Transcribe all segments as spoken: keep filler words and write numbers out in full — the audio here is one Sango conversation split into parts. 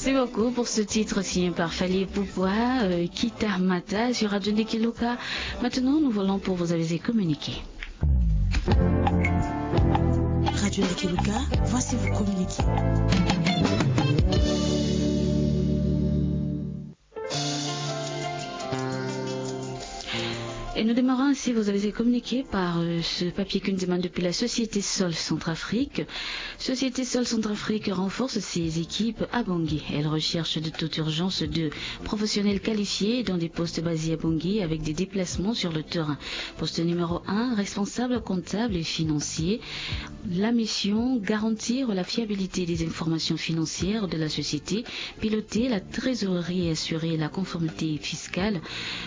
Merci beaucoup pour ce titre signé par Fally Ipupa, euh, Kita Mata sur Radio Ndiki Luka. Maintenant, nous volons pour vous avez communiqué. Radio Ndiki Luka, voici vous communiquer. Et nous démarrons ainsi, vous avez été communiqué par euh, ce papier qu'une demande depuis la Société Sol Centrafrique. Société Sol Centrafrique renforce ses équipes à Bangui. Elle recherche de toute urgence de professionnels qualifiés dans des postes basés à Bangui avec des déplacements sur le terrain. Poste numéro un, responsable comptable et financier. La mission, garantir la fiabilité des informations financières de la société, piloter la trésorerie et assurer la conformité fiscale.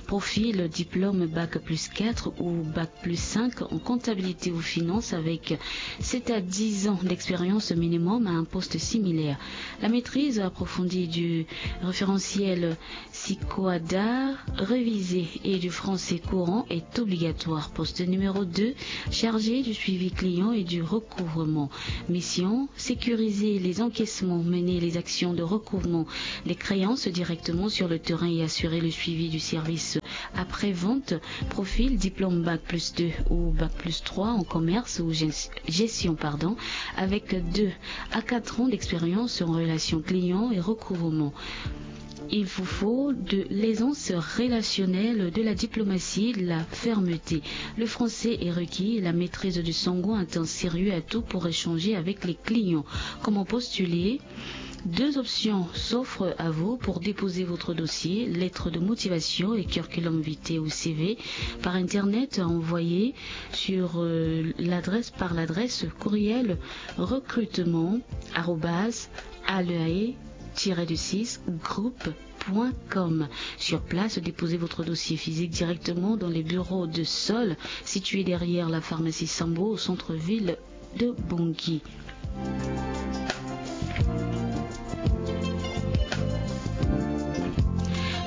Profil, diplôme bac plus quatre ou bac plus cinq en comptabilité ou finance avec sept à dix ans d'expérience minimum à un poste similaire. La maîtrise approfondie du référentiel SICOADA révisé et du français courant est obligatoire. Poste numéro deux, chargé du suivi client et du recouvrement. Mission, sécuriser les encaissements, mener les actions de recouvrement des créances directement sur le terrain et assurer le suivi du service après-vente. Profil, diplôme bac plus deux ou bac plus trois en commerce ou gest-, gestion, pardon, avec deux à quatre ans d'expérience en relation client et recouvrement. Il vous faut de l'aisance relationnelle, de la diplomatie, de la fermeté. Le français est requis, la maîtrise du sango, un temps sérieux atout pour échanger avec les clients. Comment postuler ? Deux options s'offrent à vous pour déposer votre dossier, lettre de motivation et curriculum vitae ou C V, par internet à envoyer sur euh, l'adresse, par l'adresse courriel recrutement arobase aleae tiret du six groupe point com. Sur place, déposez votre dossier physique directement dans les bureaux de Sol, situés derrière la pharmacie Sambo au centre-ville de Bangui.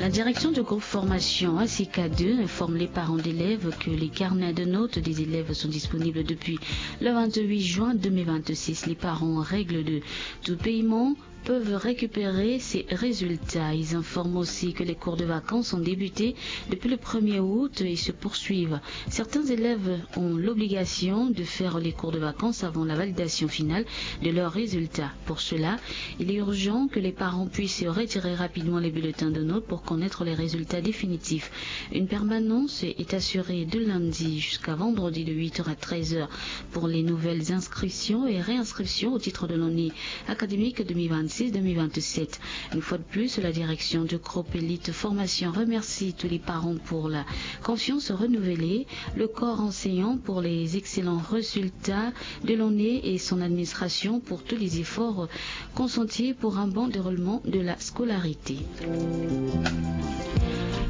La direction du groupe formation A C K deux informe les parents d'élèves que les carnets de notes des élèves sont disponibles depuis le vingt-huit juin deux mille vingt-six. Les parents en règle de tout paiement peuvent récupérer ces résultats. Ils informent aussi que les cours de vacances ont débuté depuis le premier août et se poursuivent. Certains élèves ont l'obligation de faire les cours de vacances avant la validation finale de leurs résultats. Pour cela, il est urgent que les parents puissent retirer rapidement les bulletins de notes pour connaître les résultats définitifs. Une permanence est assurée de lundi jusqu'à vendredi de huit heures à treize heures pour les nouvelles inscriptions et réinscriptions au titre de l'année académique deux mille vingt-six deux mille vingt-sept. Une fois de plus, la direction du groupe Elite Formation remercie tous les parents pour la confiance renouvelée, le corps enseignant pour les excellents résultats de l'année et son administration pour tous les efforts consentis pour un bon déroulement de la scolarité.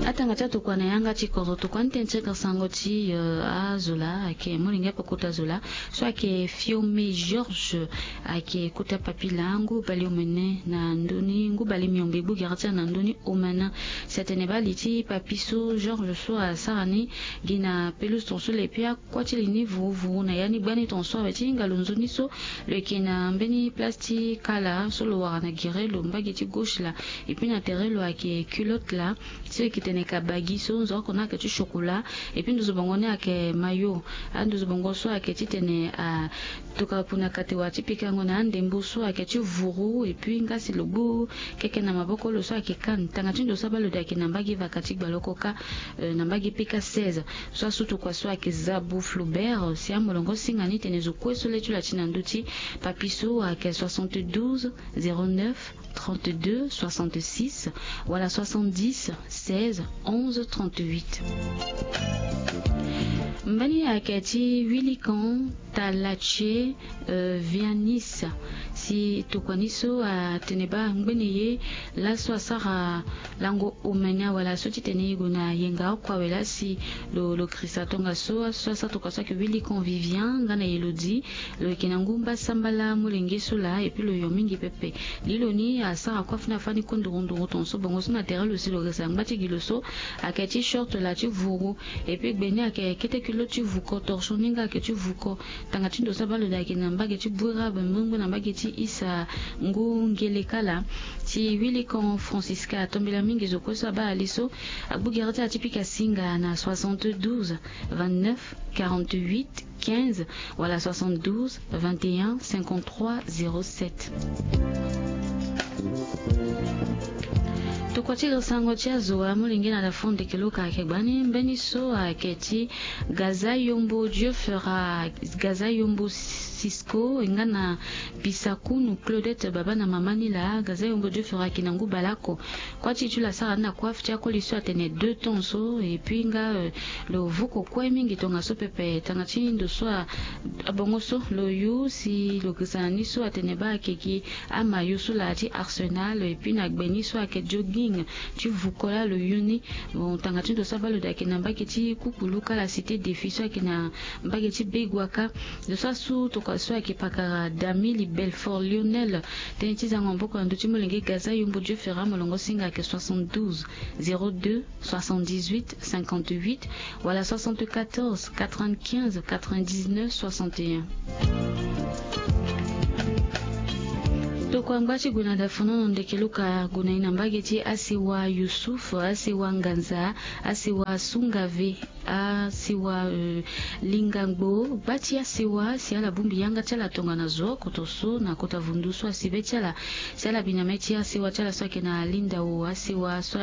Atanga ti atokua na yanga ti kozo tokua ni tene ti yanga sango ti, euh, azola ayeke molenge ape kota zola. So ayeke Fiome Georges, ayeke kota papila ngu baleomene na ndö ni ngu balemiombe gbu gere ti ala na ndö ni omene. Si atene baa li ti papi so Georges so asara ni gi na pelouse ton so le pe akuâ ti li ni vuruvuru na ya ni gbani ton so awe ti hinga lo nzoni so lo yeke na mbeni place ti kala so lo wara na gere lo mbage ti gauche laa. Et puis na tere lo ayeke culotte laa. So e yeke tene kabagi so nzoni oko ni ayeke ti chokola. Et puis nduzu bongo ni ayeke mayo. Anduzu bongo so ayeke titene a tokua puna kate wala ti pikango na andembo so ayeke ti vuru. Et puis nga si lo gbu keke na maboko lo so ayeke kane tanga ti ndo so abaa lo de ayeke na mbage vaka ti gbaloko kâ. Euh, na mbage peka seize. So asu tokua so ayeke Zabu Flaubert si amolongo singa ni tene zo kue so le ti lo ati na ndö ti papi so ayeke soixante-douze zéro neuf trente-deux soixante-six wala soixante-dix seize onze trente-huit. Mbeni ayeke ti Wilikan Talache, euh, Vianis si tokua ni so atene baa ngbene ye laso asara lango omene awe laso titene e gue na yenga oko awe laa si lo, lo krisa tongaso. So asara tokua so ayeke Wilikan Vivian nga na Elodie. Lo yeke na ngu mbasambala molenge so laa et puis lo yo mingi pepe. Li lo ni asara kue afini afani kue nduru nduru ton so bongo so na tere lo si lo resa ngba ti gi lo so ayeke ti short laa ti vuru. Et puis gbe ni ayeke kete kilo ti vuko torchon ni nga ayeke ti vuko. Tanga ti ndo so abaa lo daa ayeke na mbage ti Bouira, Bembengo na mbage ti Issa Ngu Ngeleka laa. Ti Wilikon Francisca, atombela mingi zo kue so abaa ali so. Agbu gere ti ala ti pika singa na soixante-douze vingt-neuf quarante-huit quinze wala soixante-douze vingt et un cinquante-trois zéro sept. Tokua ti lo sango ti azo amolenge na la fond de kelo ka ayeke gbani mbeni so ayeke ti Gaza Yombo Dieu Fera, Gaza Yombo Cisco, e nga na Bisakunu Claudette, baba na mama ni laa. Gaza Yombo Dieu Fera ayeke na ngu baleoko. Kuâ ti e ti lo asara ni na kuâ ti akoli so atene deux tons so, et puis nga, euh, lo vuko kue mingi tongaso pepe. Tanga ti ndo so a, abongo so lo yu si lo girisa na ni so atene baa ayeke gi amayo so laa ti Arsenal, et puis na gbe ni so ayeke jogging ti vuko laa lo yu ni. Bon, tanga ti ndo so abaa lo daa ayeke na mbage ti Kukulu kâ la Cité Défi so ayeke na mbage ti Begoua kâ. Lo so asu tokua so ayeke pakara Damili Belfort Lionel, tënë ti zango maboko na ndö ti molenge Gaza Yombo Dieu Fera, molongo singa ayeke soixante-douze zéro deux soixante-dix-huit cinquante-huit wala soixante-quatorze quatre-vingt-quinze quatre-vingt-dix-neuf soixante et un. Tokua ngba ti gue na dafonono ndeke lo ka gue na e na mbage ti asewa Youssouf, asewa Nganza, asewa Sungave, asewa, euh, Lingangbo. Gba ti asewa si ala bongbi yanga ti ala tongana zo oko so na kota vundu so asi be ti ala. Si ala bi na mê ti asewa ti ala so ayeke na Lindao, asewa so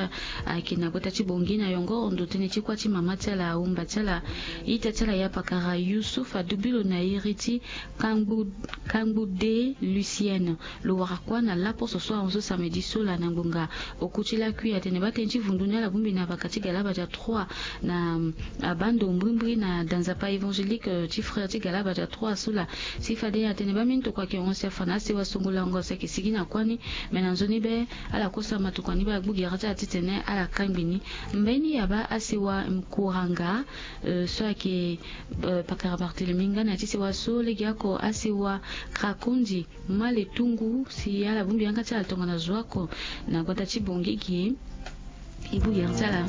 ayeke na gbata ti Bangui na yongoro ndo tënë ti kuâ ti mama ti ala, ahumba ti ala, ita ti ala ya pakara Youssouf adubi lo na iri ti Kangbu, Kangbu de Lucienne. Lo wara kuâ na laposo so ahon so samedi so laa na ngbonga oku ti lakui. Atene baa tënë ti vundu ni ala bongbi na baka ti Galabadia trois na, mm, abaa ndo mbrimbri na danzapa évangélique, euh, ti frère ti Galabadia trois so laa. Si fade atene baa mbeni tokua ayeke hon si afa na asewa songo lango si ayeke sigi na kuâ ni. Me na nzoni be ala kosa matokua ni be agbu gere ti ala titene ala kangbi ni. Mbeni abaa asewa Nkuranga, euh, so ayeke, euh, pakara Barthélemy nga na ya ti sewa so legeoko asewa Krakondi. Maletungu si ala bongbi yanga ti ala tongana zo oko na gbata ti Bangui ge. E gbu gere ti ala,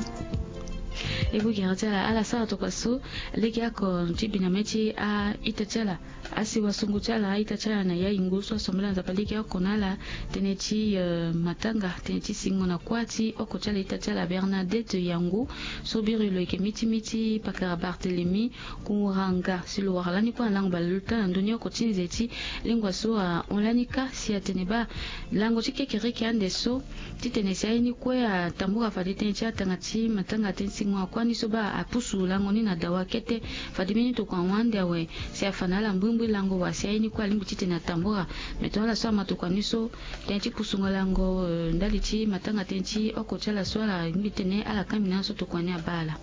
e gbu gere ti ala, ala sara tokua so legeoko ti bi na mê ti a-ita ti ala, asewa songo ti ala, a-ita ti ala na Yayingo so asambela Nzapa legeoko na ala. Tënë ti, euh, matanga, tënë ti singo na kuâ ti oko ti ala, ita ti ala Bernadette Yango so biri lo yeke miti miti pakara Barthélemy Nkuranga si lo wara lani kue na lango baleluta na ndö ni oko ti nze ti lingua so ahon lani kâ si atene baa lango ti kekereke ande so titene si aye ni kue atambula fade tënë ti atanga ti matanga tënë ti singo na kuâ ni so baa apusu lango ni na dawa kete. Fade mbeni tokua ahon ande awe si afa na ala mbrimbri lango wa si aye ni kue alingbi titene atambula. Me tongaso ala so ama tokua ni so tënë ti pusungo lango, euh, ndali ti matanga tënë ti oko ti ala so ala lingbi titene ala kangbi na ala so tokua ni abaa ala.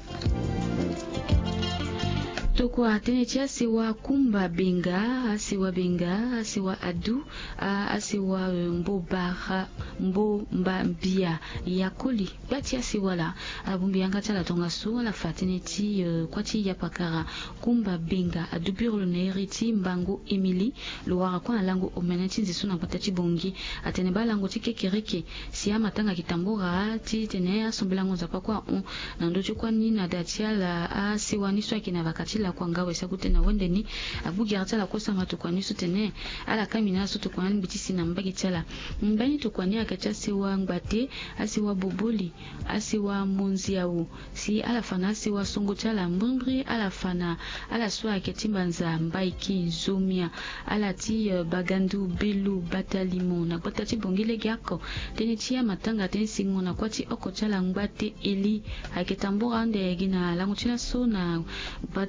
Tokua tënë ti asewa Kumba Benga, asewa Benga, asewa Adu, a, asewa, euh, Mbobara, Mbomba Mbia, Yakoli. Gba ti asewa laa, ala bongbi yanga ti ala tongaso, ala fa tënë ti, euh, kuâ ti yapakara Kumba Benga, adubi lo na iri ti Mbango Émilie. Lo wara kue na lango omene ti nze so na gbata ti Bangui. Atene baa lango ti kekereke si amatanga ayeke tambula titene asambelango Nzapa kue ahon na ndö ti kuâ ni na da ti ala asewa ni so ayeke na baka ti lakua ngawe si agu tënë na wende ni. Agbu gere ti ala kue sama tokua ni so tene ala kangbi na ala so tokua ni alingbi ti si na mbage ti ala. Mbeni tokua ni ayeke ti asewa Ngbate, asewa Boboli, asewa Monziao. Si ala fa na asewa songo ti ala mbrimbri, ala fa na ala so ayeke ti mbanza Mbaiki, Nzomia, ala ti, euh, Bagandu, Belu, Batalimo na gbata ti Bangui legeoko. Tënë ti amatanga tënë ti singo na kuâ ti oko ti ala Ngbate Eli ayeke tambula ande gi na lango ti laso na,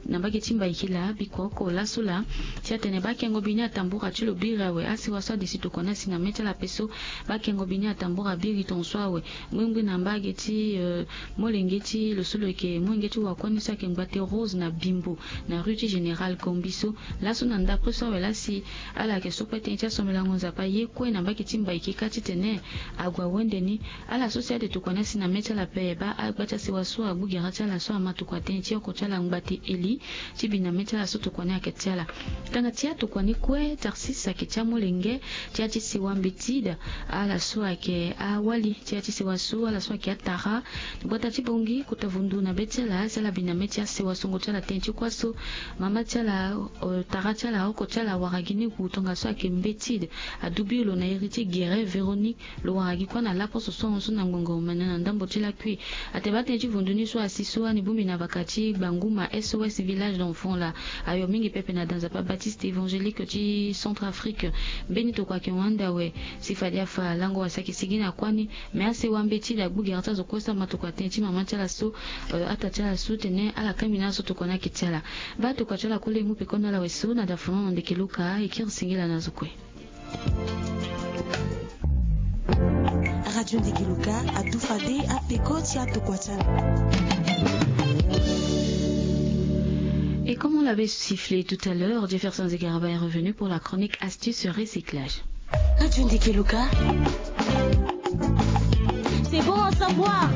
na mbage ti Mbaiki laa, bikua oko laso laa. Si atene baa kengo bi ni atambula ti lo biri awe, asewa so ade si tokua ni asi na mê ti ala ape so. Baa kengo bi ni atambula biri tongaso awe. Mbrimbri na mbage ti, euh, molenge ti lo so lo yeke molenge ti wakua ni so ayeke Ngbate Rose na Bimbo na rue ti Général Gombi so. Laso na ndapre so awe laa si ala yeke so kue tënë ti asambelango Nzapa ye kue na mbage ti Mbaiki kâ titene ague awende ni. Ala so si ade tokua ni asi na mê ti ala ape, baa agba ti asewa so agbu gere ti ala so ama tokua tënë ti oko ti ala Ngbate Eli. Ti bi na mê ti ala so tokua ni ayeke ti ala. Tanga ti atokua ni kue, Tarsis ayeke ti amolenge ti ya ti sewa mbeti daa. Ala so ayeke awali ti ya ti sewa so, ala so ayeke atara. Gbata ti bongi kota vundu na be ti ala si ala bi na mê ti asewa songo ti ala tënë ti kua so. Mama ti ala, tara ti ala, oko ti ala wara gi ni gu tongaso ayeke mbeti daa. Adubi lo na iri ti gere Véronique. Lo wara gi kua na laposo so ahon so na ngbongo omene na ndambo ti lakui. Ateba tënë ti vundu ni so asi so ani bongbi na baka ti Gbanguma S O S Village d'Enfants laa. Ayo mingi pepe na da nzapa Baptiste Évangélique ti Centrafrique. Mbeni tokua ayeke hon ande awe. Si fade afa lango wasa ayeke sigi na kua ni. Me asewa mbeti daa gbu gere ti azo kue so ama tokua tënë ti mama ti ala so, ata ti ala so tene ala kangbi na ala so tokua ni ayeke ti ala. Baa tokua ti ala kue le e mu peko na ala awe so na da fono na ndeke Luka e kiri singila na azo kue. Radio Ndeke Luka adu fade apeko ti atokua ti ala. Et comme on l'avait sifflé tout à l'heure, Jefferson Zegaraba est revenu pour la chronique Astuce Recyclage. Radio Ndeke Luka. C'est bon à savoir.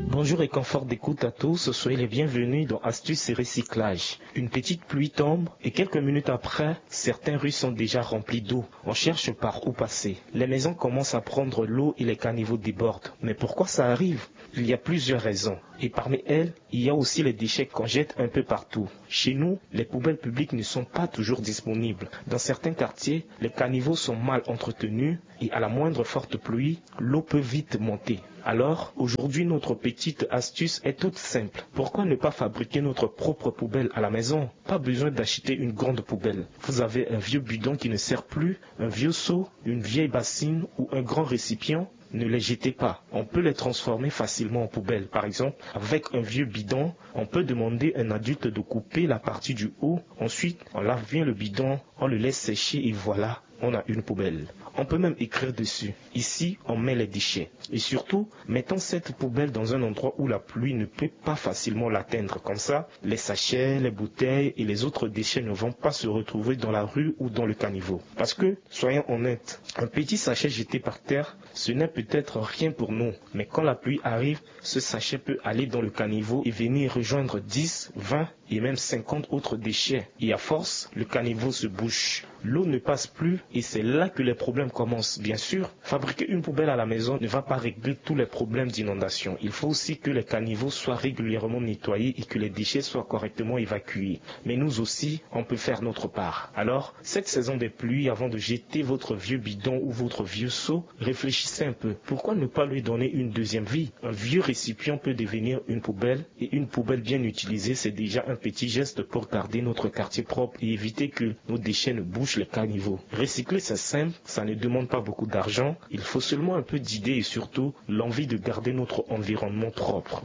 Bonjour et confort d'écoute à tous, soyez les bienvenus dans Astuce et Recyclage. Une petite pluie tombe et quelques minutes après, certaines rues sont déjà remplies d'eau. On cherche par où passer. Les maisons commencent à prendre l'eau et les caniveaux débordent. Mais pourquoi ça arrive ? Il y a plusieurs raisons. Et parmi elles, il y a aussi les déchets qu'on jette un peu partout. Chez nous, les poubelles publiques ne sont pas toujours disponibles. Dans certains quartiers, les caniveaux sont mal entretenus et à la moindre forte pluie, l'eau peut vite monter. Alors, aujourd'hui, notre petite astuce est toute simple. Pourquoi ne pas fabriquer notre propre poubelle à la maison ? Pas besoin d'acheter une grande poubelle. Vous avez un vieux bidon qui ne sert plus, un vieux seau, une vieille bassine ou un grand récipient ? Ne les jetez pas. On peut les transformer facilement en poubelle. Par exemple, avec un vieux bidon, on peut demander un adulte de couper la partie du haut. Ensuite, on lave bien le bidon, on le laisse sécher et voilà, on a une poubelle. On peut même écrire dessus : ici, on met les déchets. Et surtout, mettons cette poubelle dans un endroit où la pluie ne peut pas facilement l'atteindre. Comme ça, les sachets, les bouteilles et les autres déchets ne vont pas se retrouver dans la rue ou dans le caniveau. Parce que, soyons honnêtes, un petit sachet jeté par terre, ce n'est peut-être rien pour nous. Mais quand la pluie arrive, ce sachet peut aller dans le caniveau et venir rejoindre dix, vingt et même cinquante autres déchets. Et à force, le caniveau se bouche. L'eau ne passe plus et c'est là que les problèmes commencent. Bien sûr, fabriquer une poubelle à la maison ne va pas régler tous les problèmes d'inondation. Il faut aussi que les caniveaux soient régulièrement nettoyés et que les déchets soient correctement évacués. Mais nous aussi, on peut faire notre part. Alors, cette saison des pluies, avant de jeter votre vieux bidon ou votre vieux seau, réfléchissez un peu. Pourquoi ne pas lui donner une deuxième vie ? Un vieux récipient peut devenir une poubelle et une poubelle bien utilisée, c'est déjà un petit geste pour garder notre quartier propre et éviter que nos déchets ne bouchent les caniveaux. Recycler, c'est simple, ça ne demande pas beaucoup d'argent. Il faut seulement un peu d'idées et surtout l'envie de garder notre environnement propre.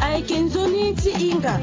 Ayeke nzoni ti hinga.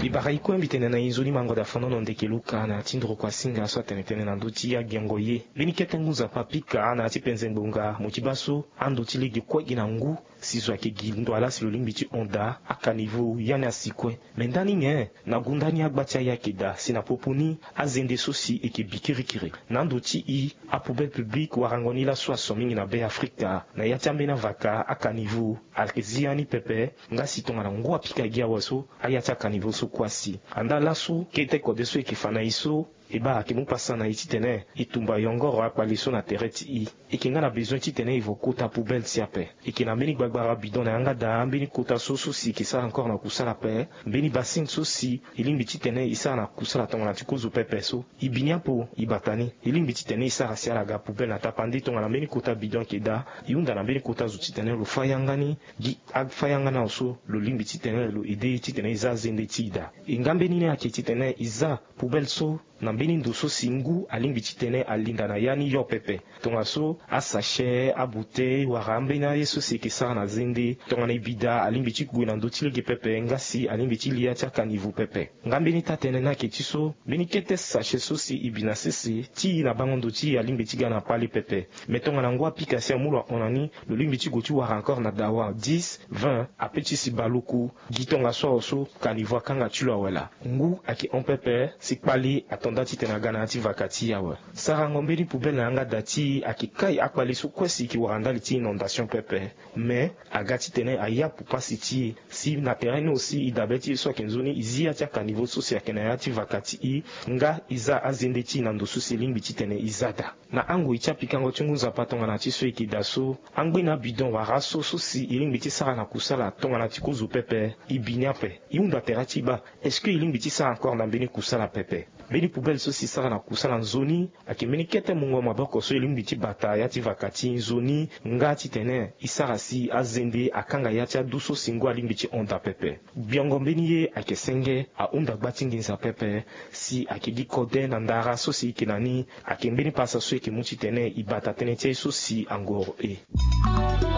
Libara ikue mbi tene na e nzoni mango da fonono ndeke Luka na ya ti ndroko asinga so atene tënë na ndö ti agiango ye. Mbeni kete ngu nzapa apika na ya ti penze ngbonga mo ti baa so ando ti lege kue gi na ngu. Si zo ayeke gi ndo ala si lo lingbi ti hon daa akanivo ya ni asi kue. Me ndani nyen? Na gunda ni agba ti aye ayeke daa si na popo ni azende so si eke bi kirikiri. Na ando ti e apoubelle publique warango ni laso aso mingi na Be Afrika. Na ya ti ambeni avaka akanivo ayeke zi ya ni pepe. Nga si tongana ngu apika gi awe so aya ti akanivo so kue asi. Andaa laso kete kode so eke fa na e so e baa ayeke mu pasa na e titene e tumba yongoro akpale so na tere ti e. E yeke nga na bezoin titene e vo kota poubelle ti ape. E yeke na mbeni gbagbara bidon na yanga daa ambeni kota so so si e yeke sara encore na kusala ape. Mbeni bassine so si e lingbi titene e sara na kusala tongana ti kozo pepe so. E bi ni apo e bata ni. E lingbi titene e sara si ala ga poubelle na tapande tongana mbeni kota bidon ayeke daa. E hunda na mbeni kota zo titene lo fâ yanga ni. Gi afâ yanga ni awe so lo lingbi titene lo aide e titene e za azende ti e daa. E nga mbeni ni ayeke titene e za poubelle so na mbeni ndo so si ngu alingbi titene alinda na ya ni yo pepe. Tongaso asachet, abouteille wala ambeni aye so si e yeke sara na zende tongana e bi daa alingbi ti gue na ndö ti lege pepe nga si alingbi ti li ya ti akanivo pepe. Nga mbeni taa-tënë ni ayeke ti so mbeni kete sachet so si e bi na sese ti e na bango ndo ti e alingbi ti ga na kpale pepe. Me tongana ngu apika si amu lo ahon na ni, lo lingbi ti gue ti wara encore na dawa dix, vingt ape ti si baluku. Gi tongaso awe so kanivo akanga ti lo awe laa. Ngu ayeke hon pepe si kpale ato nda titene aga na ya ti vaka ti e awe. Sarango mbeni poubelle na yanga da ti e ayeke kai akpali so kue si e yeke wara ndali ti inondation pepe. Mais aga titene ayapu pasi ti e si na terrain ni aussi e dabe ti e so ayeke nzoni e zi ya ti akaniveau so si ayeke na ya ti vaka ti e, nga e za azende ti e na ndo so si e lingbi titene e za daa. Na angoi ti apikango ti ngu nzapa tongana ti so e yeke daa so, angbe na abidon wala aso so si e lingbi ti sara na kusala tongana ti kozo pepe, e bi ni ape. E hunda tere ti e baa, est-ce que e lingbi ti sara encore na mbeni kusala pepe? Mbeni poubelle so si e sara na kusala nzoni ayeke mbeni kete mungo maboko so e lingbi ti bata ya ti vaka ti nzoni, nga titene e sara si azende akanga ya ti adu so si ngu alingbi ti hon daa pepe. Gbiongo mbeni ye ayeke senge, ahunda gba ti nginza pepe, si ayeke gi kode na ndara so si e yeke na ni. Ayeke mbeni pasa so e yeke mu titene e bata tënë ti aye so si angoro e.